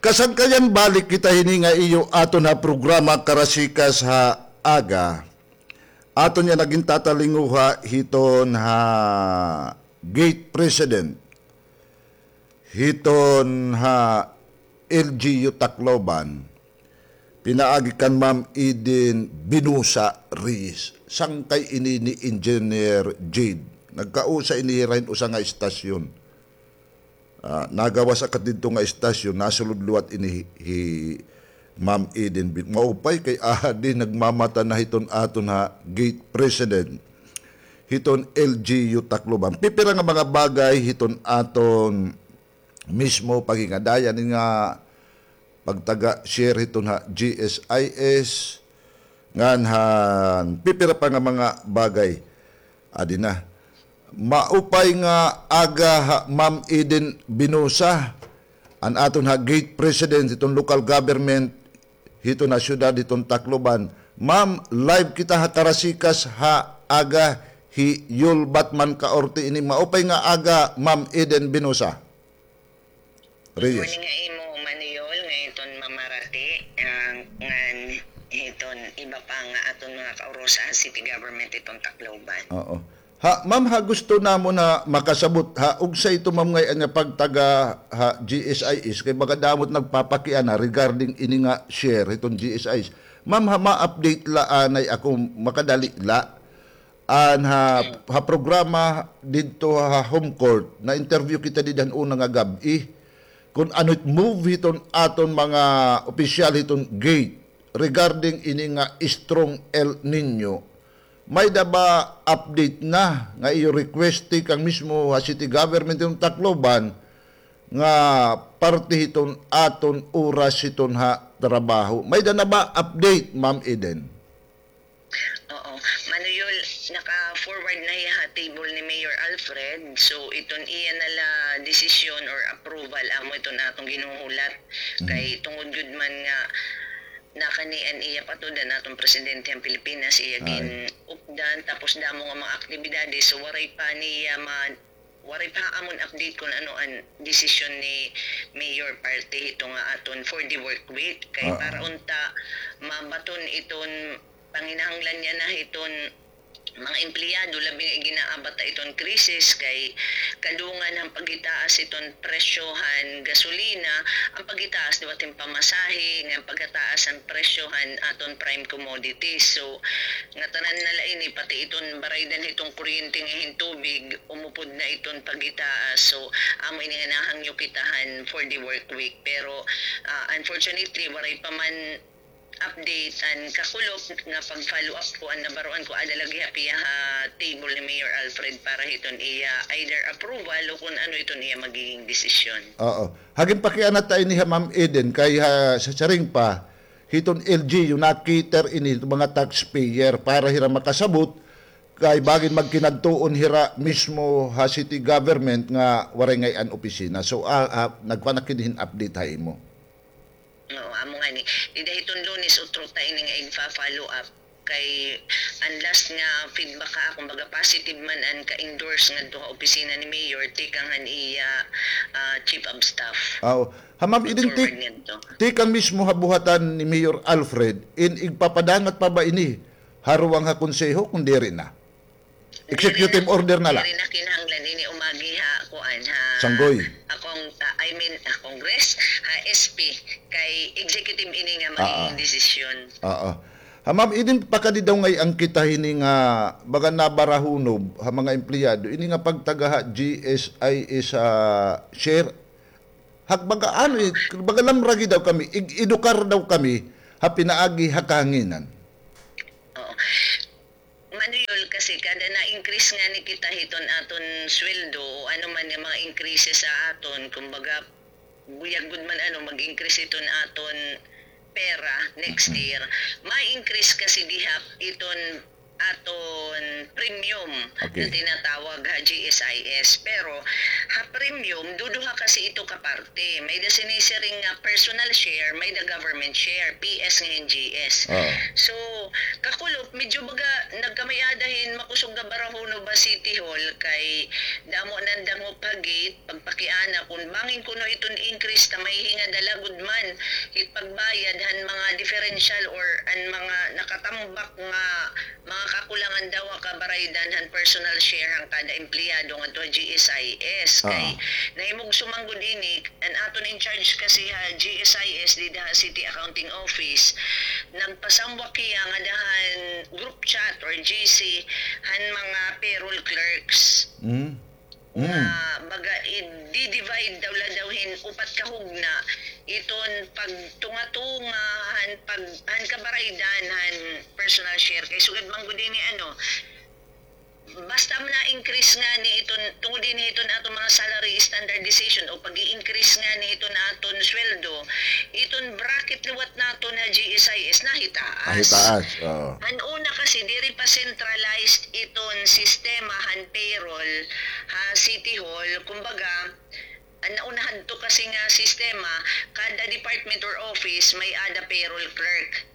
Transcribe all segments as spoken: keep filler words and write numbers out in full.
Kasangkayan, balik kita hini nga iyo aton ha programa Karasikas ha Aga. Aton nga nagin tatalinguha hiton ha gate president hiton ha L G U Tacloban, pinaagi kan Ma'am Eden Binosa Reyes. Sangkay ini ni Engineer Jade. Nagkausa ini hira hin usa nga istasyon. Ah, nagawas ak didto nga istasyon, nasulod liwat ini hi, hi Ma'am Eden. Bi-, maupay kay adi nagmamata na hiton aton ha gate president hiton L G U Tacloban. Pipira nga mga bagay hiton aton mismo paghingadaya ini nga pagtaga-share hiton ha G S I S, ngan han pipira pa nga mga bagay. Adi na. Maupay nga aga ha Ma'am Eden Binosa, an aton ha gate president hiton local government hiton ha syudad hiton Tacloban. Ma'am, live kita ha Karasikas ha Aga, hi Yul Batman Kaorte ini. Maupay nga aga, Ma'am Eden Binosa Reyes. Good morning ha imo, Manoy Yul, ngan hiton Ma'am Marati, ah, ngan hiton iba pa nga aton mga kaurusa ha city government hiton Tacloban. Oo. Ha, ma'am, ha, gusto namon nga makasabot, ha, unsay ito, ma'am, ngay-an nga pagtaga ha G S I S, kay baga damo it nagpapakiana regarding ini nga share hiton G S I S. Ma'am, ha, ma-update la anay ako, makadali la. An ha, ha programa didto ha Home Court, na-interview kita dida han una nga gab-i. Kon ano it move hiton aton mga opisyal hiton gate regarding ini nga strong El Niño. May-ada ba update na nga iyo request tikang mismo ha city government hiton Tacloban nga parte hiton aton oras hiton ha trabaho? May-ada na ba update, Ma'am Eden? Oo. Manoy Yul, naka-forward na hiya ha table ni Mayor Alfred. So, iton iya na la desisyon or approval, amo iton aton ginhuhulat. Mhm. Kay tungod gud man nga nakani an iya patud-an aton presidente han Pilipinas, iya gin-updan, tapos damo nga mga aktibidades, so waray pa niya ma-, waray pa amon update kon ano an desisyon ni Mayor parte hito nga aton for the work week. Kay para unta mabaton iton panginahanglan niya na hiton mga empleyado, labi nga gin-aabat ta iton krisis, kay kadungan han paghitaas iton presyo han gasolina, an paghitaas liwat hin pamasahe, ngan pagkataas han presyo han aton prime commodities. So, ngatanan na la ini, pati iton baraydan hiton kuryente ngan hin tubig, umupod na iton paghitaas. So, amo ini nga nahangyo kita han for the work week. Pero, ah, unfortunately, waray pa man update an kakulop nga pag-follow up ko, an nabaroan ko ada lagi ha piya ha table ni Mayor Alfred para hiton iya either approval o kon ano iton iya magiging desisyon. Oo. Ha ginpakiana ta ini ha Ma'am Eden, kay ha, sa siring pa, hiton L G U, na-cater ini hiton mga taxpayer para hira makasabot, kay bangin magkinadtuon hira mismo ha city government nga waray ngay-an opisina. So, ah, ah, nagkuan ak hin update ha imo. Oo, amo ngani. Dida hiton Lunes, utro ta ini nga igfa-follow up. Kay an last nga feedback ha akon, baga positive man an ka-endorse ngadto ha opisina ni Mayor, tikang han iya, ah, chief of staff. Aw. Ha, Ma'am Eden, tik-, tikang mismo ha buhatan ni Mayor Alfred, in igpapadangat pa ba ini ha ruwang ha konseho, kon diri na? Executive order na la. Diri na kinahanglan ini umagi ha, kuan, ha, Sanggoy. Ha Cong-, ah, I mean, ha Congress, ha S P, kay executive ini nga magiging desisyon. Oo. Ha, Ma'am Eden, pakadi daw ngay-an kita hini nga baga nabarahunob ha mga empleyado, ini nga pagtaga ha G S I S, ah, share. Hag baga ano, eh, baga lamragi daw kami, ig-edukar daw kami ha pinaagi ha kahanginan. Oo. Manoy Yul, kasi kada na-increase ngani kita hiton aton sweldo o ano man nga mga increases sa aton, kumbaga, buyag gud man ano, mag-increase hiton aton pera next year. Ma-increase kasi gihap iton aton premium na tinatawag ha G S I S. Pero ha premium, duduha kasi ito ka parte. May-ada sinisiring nga personal share, may-ada government share, P S ngan G S. So, kakulop, medyo baga nagkamay-ada hin makusog nga barahon ha City Hall kay damo nan dangop ha gate, pagpakiana kun bangin kuno iton increase ta mahihingad la gud man hit pagbayad han mga differential or an mga nakatambak nga mga kakulangan daw ha kabaraydan han personal share han kada empleyado ngadto ha G S I S. Kay nahimugso man gud ini, an aton in charge kasi ha G S I S dida ha City Accounting Office, nagpasambwak hiya ngada han group chat or G C han mga payroll clerks. Nga baga i-divide daw la daw hin upat ka hugna iton pagtunga-tunga han pag-, han kabaraydan han personal share. Kay sugad man gud ini, ano, basta man na-increase ngani iton, tungod ini iton aton mga salary standardization o pag-i-increase ngani iton aton sweldo, iton bracket liwat naton ha G S I S nahitaas. Nahitaas, oo. Han una kasi, diri pa centralized iton sistema han payroll ha City Hall. Kumbaga, an nauna hadto kasi nga sistema, kada department or office may-ada payroll clerk.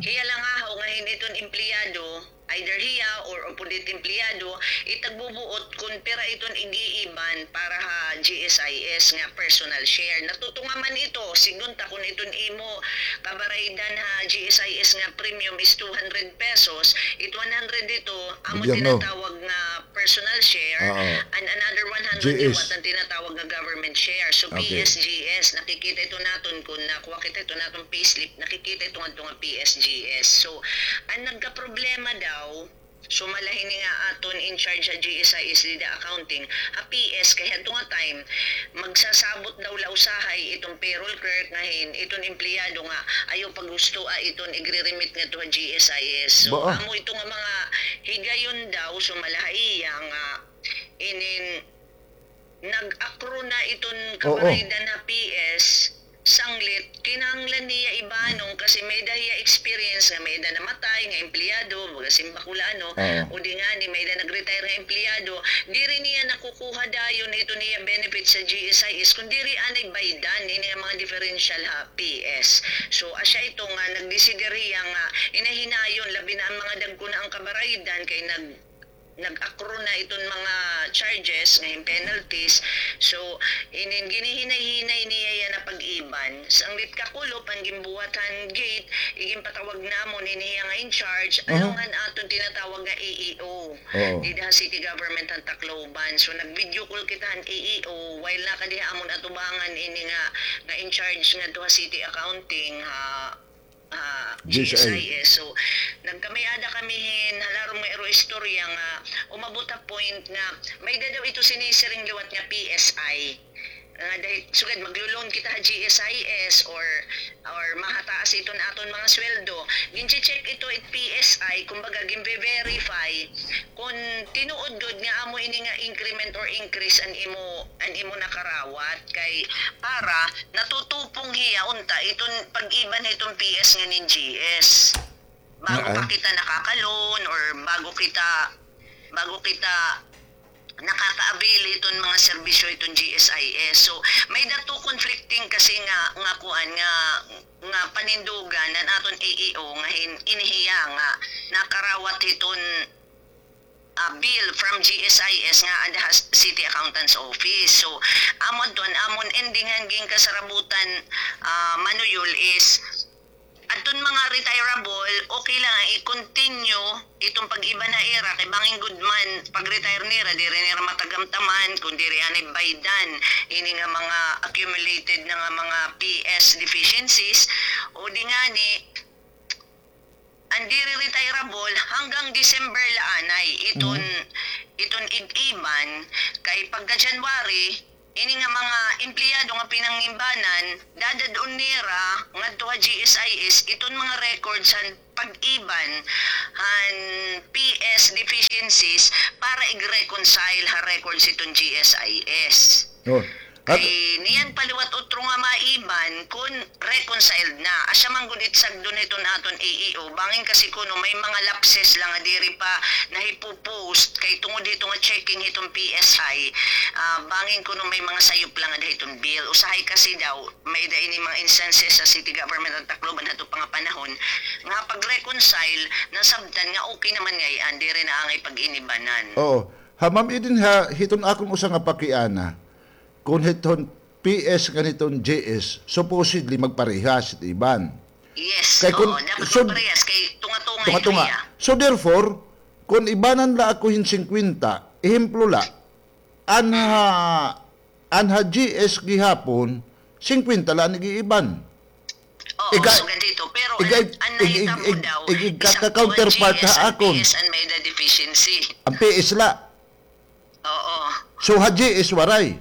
Hiya la ngahaw nga hin iton empleyado, either hiya or upod it empleyado, itagbubuot kun pira iton ig-iiban para ha G S I S nga personal share. Natutunga man ito, sidngon ta kun iton imo kabaraydan ha G S I S nga premium is two hundred pesos, it one hundred ito, amo tinatawag nga personal share, and another one hundred liwat an tinatawag nga government share. So, P S G S, nakikita ito naton kun nakuha kita ito naton payslip, nakikita ito ngadto nga P S G S. So, an nagkaproblema daw, sumala hini nga aton in charge ha G S I S dida accounting, ha P S, kay hadto nga time, magsasabot daw la usahay iton payroll clerk nga hin iton empleyado nga ayaw paghustoa iton igre-remit ngadto ha G S I S. So, amo ito nga mga higayon daw, sumala ha iya nga inin nag-accrue na iton kabaraydan ha P S, sanglit, kinahanglan niya ibanong kasi may-ada hiya experience nga may-ada namatay nga empleyado, baga simbako la, ano, o di ngani, may-ada nag-retire nga empleyado, diri niya nakukuha dayon iton iya benefits sa G S I S, kun diri anay baydan ini nga mga differential ha P S. So, asya ito nga nagdesider hiya nga hinay-hinayon, labi na an mga dagko na an kabaraydan kay nag- nag-accrue na iton mga charges, nga hin penalties. So, inin ginihinay-hinay niya yana pag-iban. Sanglit kakulop an ginbuhat han gate, iginpatawag namon ini hiya nga in charge, along han aton tinatawag nga A E O. Dida ha city government han Tacloban. So, nag-video call kita han A E O, while nakadi ha amon atubangan ini nga, nga in charge ngadto ha city accounting, ha, ah, G S I S. So, nagkamay-ada kami hin halarom nga iro istorya nga umabot ha point nga may-ada daw ito sinisiring liwat nga P S I. Nga dahil, sugad, maglo-loan kita ha G S I S or, or mahataas iton aton mga sweldo. Ginche-check ito it P S I, kumbaga, ginve-verify kun tinuod gud nga amo ini nga increment or increase an imo, an imo nakarawat, kay para natutupong hiya unta iton pag-iban hiton P S ngan hin G S. Bago pa kita nakaka-loan or bago kita, bago kita nakaka-avail hiton mga serbisyo hiton G S I S. So, may-ada two conflicting kasi nga, nga kuan, nga, nga panindugan an aton A E O nga hin-, ini hiya nga nakarawat hiton, ah, bill from G S I S nga ada ha City Accountant's Office. So, amo adto an amon ending han ginkasarabutan, ah, Manuyol is, adton mga retirable, okay lang nga i-continue iton pag-iban ha ira, kay bangin gud man, pag-retire nira, diri nira matagamtaman, kun diri anay baydan ini nga mga accumulated na nga mga P S deficiencies, o di ngani, an diri retirable, hanggang December la anay iton, iton ig-iban, kay pagka January, ini nga mga empleyado nga pinangimbanan, dadad-on nira ngadto ha G S I S iton mga records han pag-iban han P S deficiencies para ig-reconcile ha records hiton G S I S. Oh. Kay niyan pa liwat utro nga maiban kon reconciled na. Asya man gud it sagdon hiton aton A E O. Bangin kasi kuno may mga lapses la nga diri pa nahipo-post kay tungod hito nga checking hiton P S I, ah, bangin kuno may mga sayop la ngada hiton bill. Usahay kasi daw, may-ada ini mga instances ha city government han Tacloban hadto pa nga panahon nga pag-reconcile, nasabtan nga okay naman ngay-an, diri na angay pag-inibanan. Oo. Ha, Ma'am Eden, ha, hiton akon usa nga pakiana, kon hiton P S ngan hiton G S, supposedly magparehas it iban. Yes, oo, dapat magparehas kay tunga-tunga it haya. So therefore, kon ibanan la ako hin singkwenta, ehemplo la, an ha, an ha G S gihapon, singkwenta la an ig-iiban. Oo, sugad dito. Pero an, an nahitabo daw, ig-, ig-, ig-, isang counterpart ha akon. P S an may-ada deficiency. An P S la. Oo. So, ha G S waray?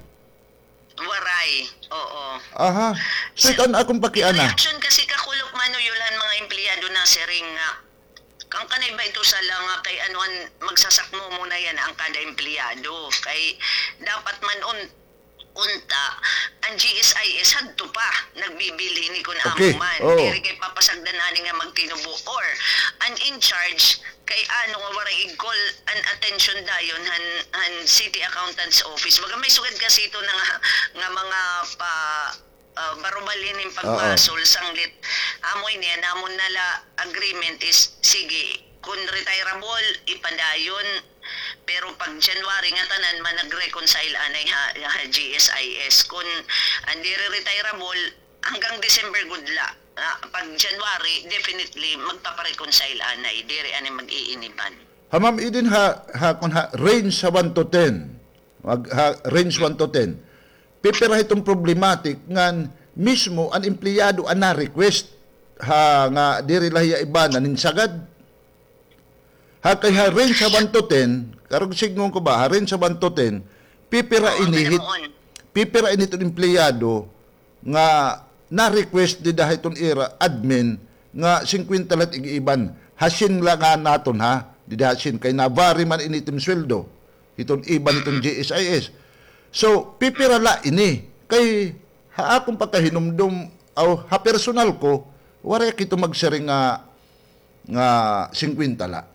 Waray. Oo. Aha. So, ito an akon pakiana. Reaksyon kasi kakulop, Manoy Yul, han mga empleyado nasiring nga, kan kanay ba ito sala nga kay ano an magsasakmo muna yana an kada empleyado. Kay dapat man un-, unta, an G S I S hadto pa, nagbibilin hini kon amo man. Diri kay papasagdan ani nga magtinubo. Or, an in charge, kay ano nga waray ig-call an attention dayon han, han city accountant's office. Baga may sugad kasi ito na nga, nga mga pa, ah, barubal hinin pagbasol, sanglit. Amo ini, an amon na la agreement is, sige, kon retireable, ipadayon, pero pag January ngatanan man nag-reconcile anay ha, ha G S I S. Kon an diri retireable, hanggang December gud la. Ah, pag January, definitely, magpapa-reconcile anay. Diri anay mag-iiniban. Ha, Ma'am Eden, ha, ha, kon ha range ha one to ten, mag-, ha range one to ten, pipira hiton problematic ngan mismo an empleyado an na-request, ha, nga diri la hiya ibanan hin sagad? Ha, kay ha range ha one to ten, karuyag sidngon ko ba, ha range ha one to ten, pipira ini hit-, pipira ini hiton empleyado nga na-request dida hiton ira admin nga singkwenta la it ig-iiban. Ha syen la nga naton, ha? Dida ha syen, kay na-vary man ini hiton sweldo hiton iban hiton G S I S. So, pipira la ini? Kay ha akon pagkahinumdom, aw, ha personal ko, waray ak hito magsiring nga, nga singkwenta la.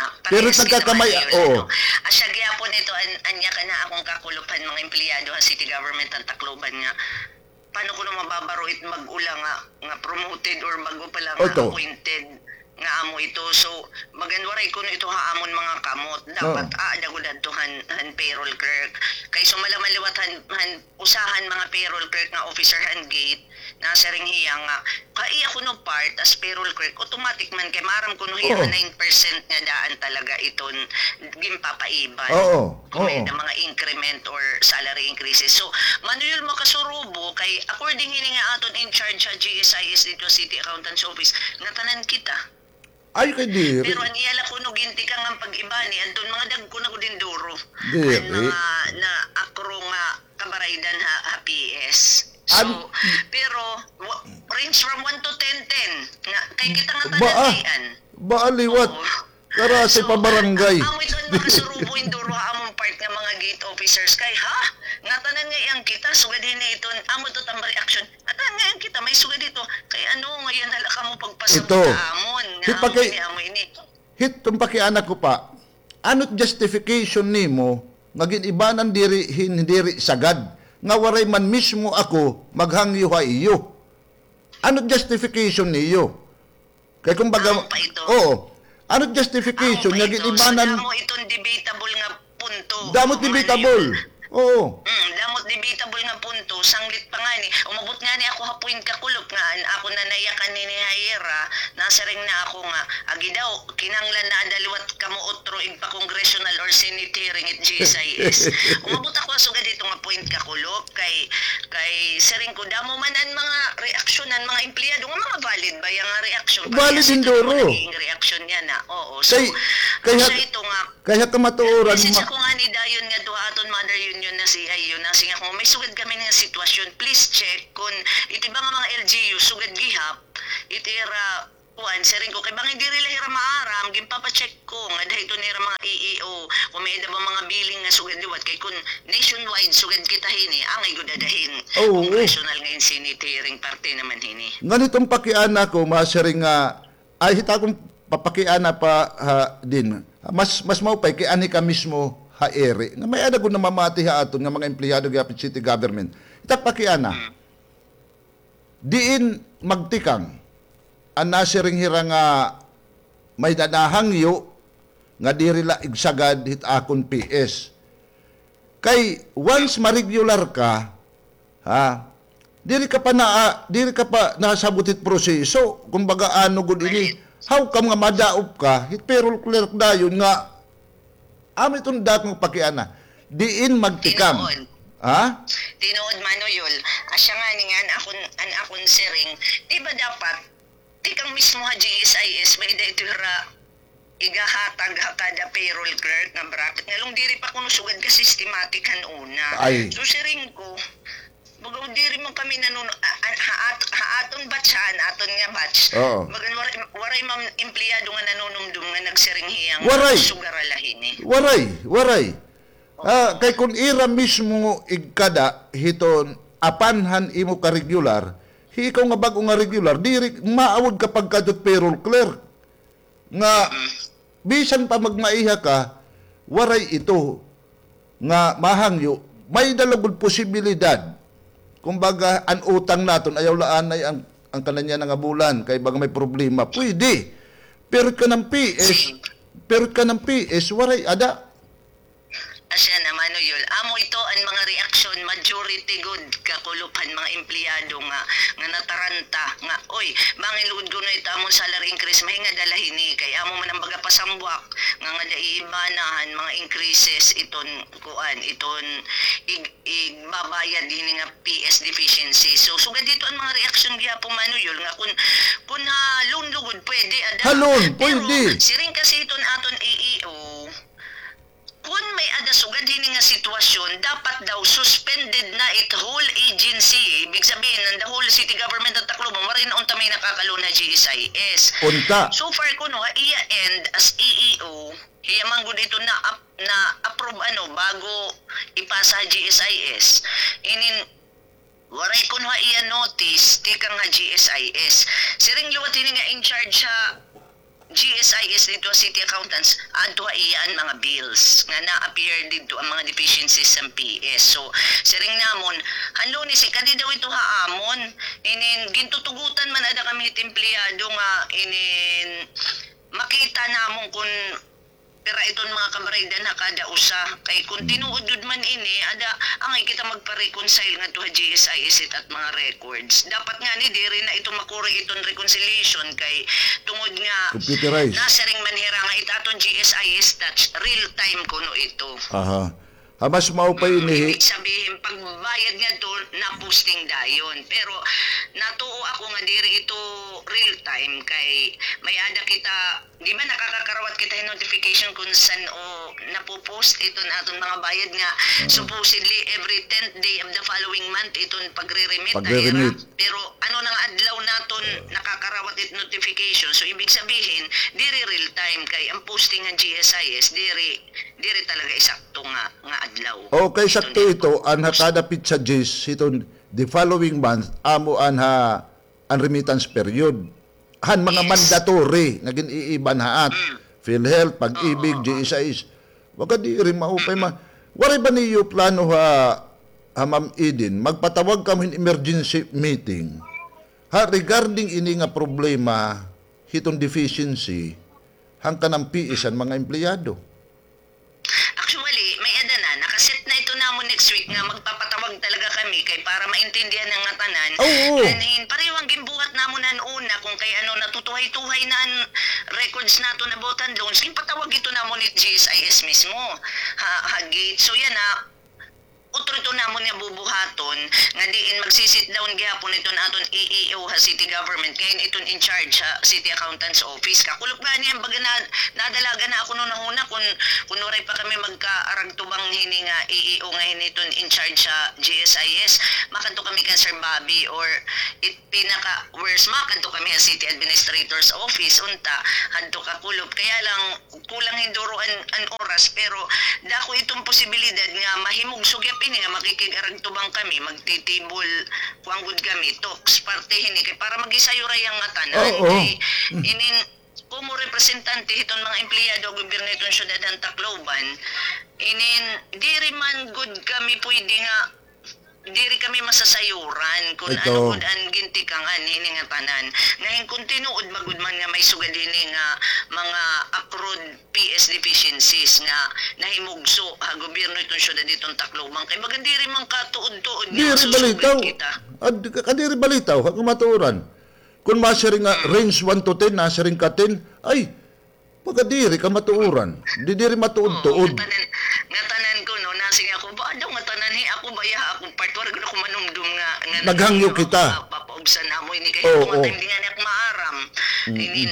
Ah, pero it nagkakamay-an, oo. Asya gihapon ito, an-, anya ka na akon kakulop han mga empleyado ha city government han Tacloban nga, paano kuno mababaro it bag-o la nga, nga promoted or bag-o pa la nga appointed nga amo ito? So, bagan waray kuno ito ha amon mga kamot. Dapat aada gud adto han, han payroll clerk. Kay sumala man liwat han, han usa han mga payroll clerk nga officer han gate, nasiring hiya nga, kay iya kuno part as payroll clerk, automatic man kay maaram kuno hiya nga nine percent nga daan talaga iton ginpapaiban. Oo. Kon may-ada mga increment or salary increases. So, Manoy Yul, makasurubo kay according hini nga aton in charge ha G S I S didto ha City Accountant's Office, ngatanan kita. Ay, kay diri. Pero an iya la kuno gintikang an pag-ibani, adton mga dagko na gud hin duro. Diri. An mga naakro nga kabaraydan ha, ha P S. So, pero, wa-, range from one to ten, ten. Nga, kay kita ngatanan ngay-an. Baa liwat. Oo. Karasi pa barangay. So, amo ito an makasurubo hin duro ha amon part nga mga gate officers. Kay, ha? Ngatanan ngay-an kita, sugad hini iton, amo ito it amon reaksyon. Ngatanan ngay-an kita, may sugad ito. Kay ano, ngay-an na la kamo pagpasabot ha amon. Nga amo ini, amo ini. Hiton pakiana ko pa, ano it justification nimo nga gin-ibanan diri hin diri sagad, nga waray man mismo ako maghangyo ha iyo? Ano it justification niyo? Kay kumbaga, oo. Ano it justification nga gin-ibanan? Damo iton debatable nga punto. Damo it debatable. Oo. Mm, damo it debatable nga punto, sanglit pa ngani. Umabot ngani ako ha point kakulop nga an akon nanayakan hini ha ira, nasiring na ako nga, agi daw, kinahanglan na ada liwat kamo utro igpa-congressional or senate hearing it G S I S. Umabot ako ha sugad hito nga point kakulop, kay, kay siring ko, damo man an mga reaksyon han mga empleyado, nga mga valid ba iya nga reaksyon? Valid hin duro. Naging reaksyon niya na, oo. So, kay, kay ha-, ito nga, kay ha kamatuoran, message ako ngani dayon ngadto ha aton mother union na C I U, nasiring ako, may sugad kami nga sitwasyon. Please check kon iti ba nga mga L G U, sugad gihap, iti ira Kuan, siring ko, kay bangin diri la hira maaram, ginpapacheck ko ngada hiton ira mga E E O, kon may-ada ba mga billing nga sugad liwat, kay kon nationwide sugad kita hini, angay gud ada hin congressional nga hin Senate hearing parte naman hini. Ngan hiton pakiana ko, masiring nga, ay, hit akon papakiana pa, ha, din. Mas, mas maupay kay anhi ka mismo ha iri. Nga may-ada gud namamati ha aton nga mga empleyado gihap hit city government. Hit ak pakiana. Diin magtikang an nasiring hira nga may nanahangyo nga diri la igsagad hit akon P S. Kay once ma-regular ka, ha, diri ka pa na, diri ka pa nasabot hit proseso. Kumbaga, ano gud ini, how come nga madaop ka hit payroll clerk dayon nga amo iton dakong pakiana, diin magtikang. Tinuod. Ha? Tinuod, Mano Yul. Asya ngani nga an akon, an akon siring, di ba dapat tikang mismo ha G S I S, may-ada ito hira igahatag ha kada payroll clerk nga bracket. Ngalong diri pa kuno sugad ka systematic han una. Ay. So, siring ko, baga diri man kami nanun-, a-, a-, ha at-, ha aton batch, ha, an aton nga batch. Oo. Baga waray, waray man empleyado nga nanunumdom nga nagsiring hiya nga sugara la hini. Waray, waray. Ah, kay kon ira mismo igkada hiton apan han imo ka regular, hi ikaw nga bag-o nga regular, diri maawod ka pagkadto hit payroll clerk. Nga, bisan pa magmaiha ka, waray ito nga mahangyo, may-ada la gud posibilidad. Kumbaga, an utang naton, ayaw la anay an, an kanan niya nga bulan, kay baga may problema. Pwede. Pero kanan P S, pero kanan P S, waray ada. Asya na, Mano Yul. Amo ito an mga reaksyon, majority gud kakulop han mga empleyado nga, nga nataranta, nga, "Oy, bangin lugod kuno ito amon salary increase, mahingad la hini, kay amo man an baga pasambwak, nga ngada iibana han mga increases iton, kuan, iton ig-, igbabayad hini nga P S deficiency." So, sugad dito an mga reaksyon gihapon, Mano Yul, nga kun, kun ha loan lugod, pwede, ada. Ha loan, pwede. Pero, siring kasi iton aton E E O, kun may-ada sugad hini nga sitwasyon, dapat daw suspended na it whole agency. Ibig sabihin, an the whole city government of Tacloban, waray na unta may nakaka-loan ha G S I S. Unta. So far kuno, ha iya end as E E O, hiya man gud ito na ap-, na-approve, ano, bago ipasa ha G S I S. Inin, waray kuno ha iya notice tikang ha G S I S. Siring liwat hini nga in charge ha G S I S didto ha city accountants, adto ha iya an mga bills nga na-appear didto an mga deficiencies han P S. So, siring namon, han Lunes, ikadi daw ito ha amon. Inin, gintutugutan man ada kami hit empleyado nga inin makita namon kun pira iton mga kabaraydan ha kada usa. Kay kun tinuod gud man ini, ada, angay kita magpa-reconcile ngadto ha G S I S it at mga records. Dapat ngani diri na ito makuri iton reconciliation kay tungod nga computerized. Nasiring man hira nga it aton G S I S touch real time kuno ito. Aha. Ha mas maupay ini. Ibig sabihin, pagbayad ngadto, na-posting dayon. Pero natuo ako nga diri ito real time kay may-ada kita Di ba nakakakarawat kita hin notification kun san-o napo-post iton aton mga bayad nga supposedly every tenth day of the following month iton pagre-remit ha ira. Pagre-remit. Pero ano na nga adlaw naton nakakarawat it notification? So, ibig sabihin, diri real time kay an posting han G S I S, diri, diri talaga isakto nga, nga adlaw. Okay, sakto ito, an ha kada petsa diyes hiton the following month, amo an ha an remittance period. Han mga mandatory nga gin-iiban ha at PhilHealth, Pag-ibig, G S I S. Baga diri maupay ma-, waray ba niyo plano ha, ha Ma'am Eden, magpatawag kamo hin emergency meeting ha regarding ini nga problema hiton deficiency han kanan P S han mga empleyado? Actually, may-ada na, naka-set na ito namon next week nga magpapatawag talaga kami kay para maintindihan na ngatanan. Oo. Ngan hin, pareho an ginbuhat namon han una, kun kay ano, natutuhay-tuhay na an records naton about han loans. Ginpatawag ito namon it G S I S mismo. Ha, ha gate. So, yana, utro ito namon nga bubuhaton, nga diin magsi-sit down gihapon iton aton E E O ha city government, kay iton in charge ha city accountant's office. Kakulop gani an baga na, nadalagan na ako hunahuna kun, kun waray pa kami magkaaragtubang hini nga E E O nga hini iton in charge ha G S I S. Makadto kami kan Sir Bobby or it, pinaka worst, makadto kami ha city administrator's office, unta, hadto kakulop. Kaya lang, kulang hin duro an, an oras, pero dako iton posibilidad nga mahimugso gihap ini nga makikig-aragtubang kami, magtitibol, kuan gud kami, talks, parte hini, kay para magisayuray an ngatanan, kay inin, komo representante hiton mga empleyado ha gobyerno hiton syudad han Tacloban, inin, diri man gud kami pwede nga diri kami masasayuran kun ano gud an gintikangan hini nga tanan. Nga hin kun tinuod ba gud man nga may sugad hini nga mga accrued P S deficiencies nga nahimugso ha gobyerno hiton syudad hiton Tacloban, kay baga diri man katuod-tuod nga masusugal kita. Diri balitaw. Ad-, ka-, diri balitaw, ha kamatuoran. Kun masiring nga range one to ten, nasiring ka ten, ay, pagkadiri ka matuoran. Di diri matuod-tuod. Oo, ngatanan, ngatanan kuno, nasiring ako, ba daw ngatanan, hi, ako ba, ha akon part, waray gud ako manumdom nga, nga naghangyo kita. Papaubsan namo ini, kay ito nga time, di ngani ako maaram. Inin,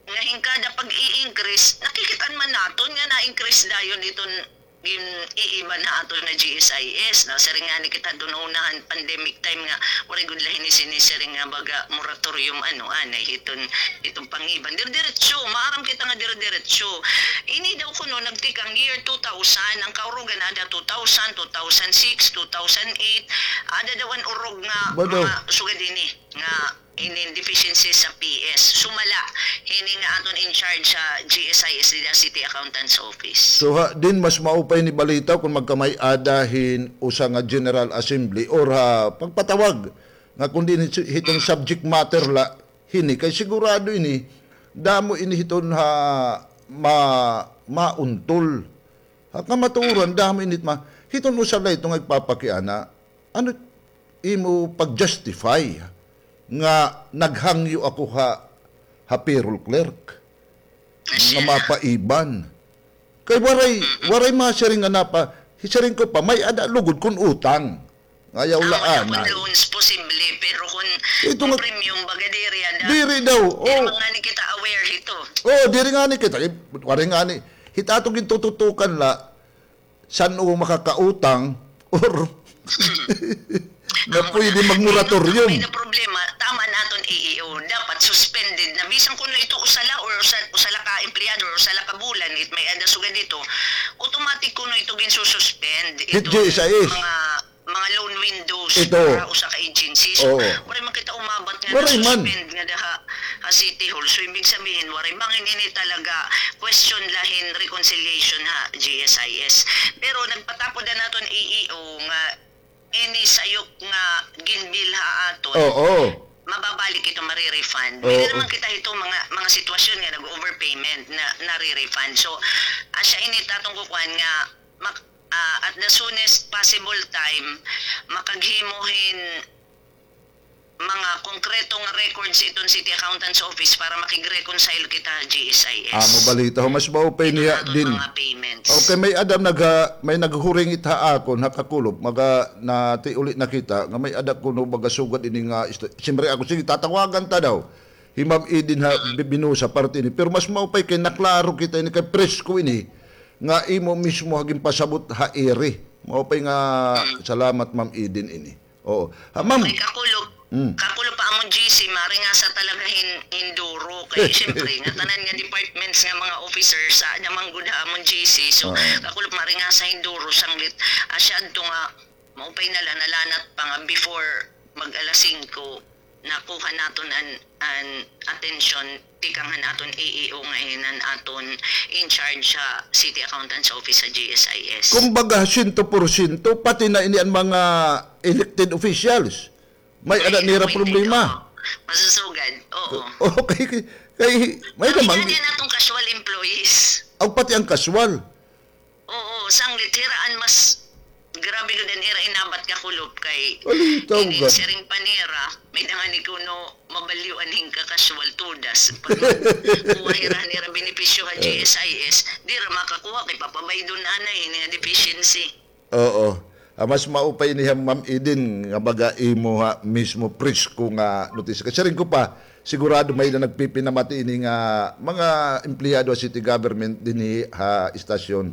nga hin kada pag-i-increase, nakikit-an man naton nga na-increase dayon iton gin-iiban ha aton nga G S I S, no? Siring ngani kita dun una han pandemic time nga waray gud la hini sinisiring nga baga moratorium, ano, anay hiton, hiton pangiban. Dire-diretso, maaram kita nga dire-diretso. Ini daw kuno nagtikang year two thousand, an kaurugan ada two thousand, two thousand six, two thousand eight, ada daw an urog nga mga sugad ini nga inin deficiency sa P S. Sumala hini nga aton in charge sa G S I S dida City Accountant's Office. So, ha, din mas maupay ni balitaw kun magkamay-ada hin usa nga General Assembly or ha pagpatawag nga kun diin hiton subject matter la hini kay sigurado ini damo ini hiton ha ma-, mauntol. Ha kamatuoran damo ini ma-, hiton usa la ito nga igpapakiana. Ano imo pag-justify nga naghangyo ako ha, ha payroll clerk nga mapaiban? Kay waray, waray masiring nga napa-, siring ko pa, may-ada lugod kun utang. Ayaw la anay. Kun loans, posible, pero kun, kun premium, baga diri ada. Diri daw. Diri man ngani kita aware hito. Oo, diri ngani kita. Waray ngani. Hit aton gintututukan la, san-o makakautang or nga pwede mag-moratorium. May na problema, tama an aton E E O, dapat suspended na. Bisan kuno ito usa la or usa, usa la ka empleyado or usa la ka bulan, it may-ada sugad dito, automatic kuno ito ginsususpend. Hit G S I S. Mga, mga loan windows para usa ka agency. So, waray man kita umabat nga nasuspend nga daha ha City Hall. So, ibig sabihin, waray bangin ini talaga question la hin reconciliation ha G S I S. Pero nagpatapod an aton E E O nga ini sayop nga ginbill ha aton, mababalik ito, mare-refund. May-ada naman kita hito mga, mga sitwasyon nga nag-overpayment na nare-refund. So, asya ini it aton kukuan nga mak-, ah, at the soonest possible time, makaghimo hin mga konkreto nga records iton City Accountant's Office para makig-reconcile kita ha G S I S. Amo balita ho, mas maupay niya din. Mga payments. Okay, may-ada nagha-, may naghuringit ha akon, ha kakulop, maga natiuli na kita, nga may-ada kuno baga sugad ini nga isto-, siyempre ako, sige, tatawagan ta daw. Hi Ma'am Eden ha, bi-, binusa parte ini. Pero mas maupay kay naklaro kita ini, kay presko ini, nga imo mismo ha ginpasabot ha iri. Maupay nga salamat, Ma'am Eden, ini. Oo. Ha, ma'am. Kay kakulop, kakulop pa amon G C, maaringasa talaga hin, hin duro. Kay, siyempre, ngatanan nga departments nga mga officers, ada man gud ha amon G C. So, kakulop, maaringasa hin duro, sanglit, asya adto nga, maupay na la, nalanat pa nga before mag-alas singko, nakuha naton an, an atensyon tikang han aton A E O nga hin an aton in charge sa City Accountant's Office sa G S I S. Kumbaga, siyento porsyento, pati na ini an mga elected officials. May-ada nira problema. Masusugad, oo. Okay, kay, kay, may-ada man. An aton casual employees. Aw, pati an casual. Oo, sanglit hira an mas grabe gud an ira inabat kakulop kay ini siring pa nira, may-ada ngani kuno mabalyoan hin ka-casual todas. Pag kuha hira nira benepisyo ha G S I S, dira makakuha kay papabaydon anay ini nga deficiency. Oo. Ah, mas maupay ini ha, Ma'am Eden, nga baga imo ha mismo presko nga notisya. Kay siring ko pa, sigurado may-ada nagpipinamati ini nga mga empleyado ha city government dinhi ha istasyon,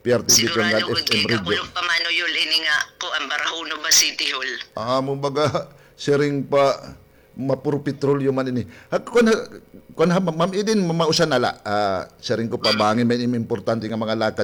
P R T V Conrad Sigurado gud F M kay Radio. Kakulop pa, Mano Yul, ini nga kuan, Barahona ba City Hall. Amo baga, siring pa, mapuro petrolyo man ini. Ha, kuan ha, kuan ha, Ma'am Eden, ma-, mausa na la. Ah, siring ko pa, bangin may im-, importante nga mga lakad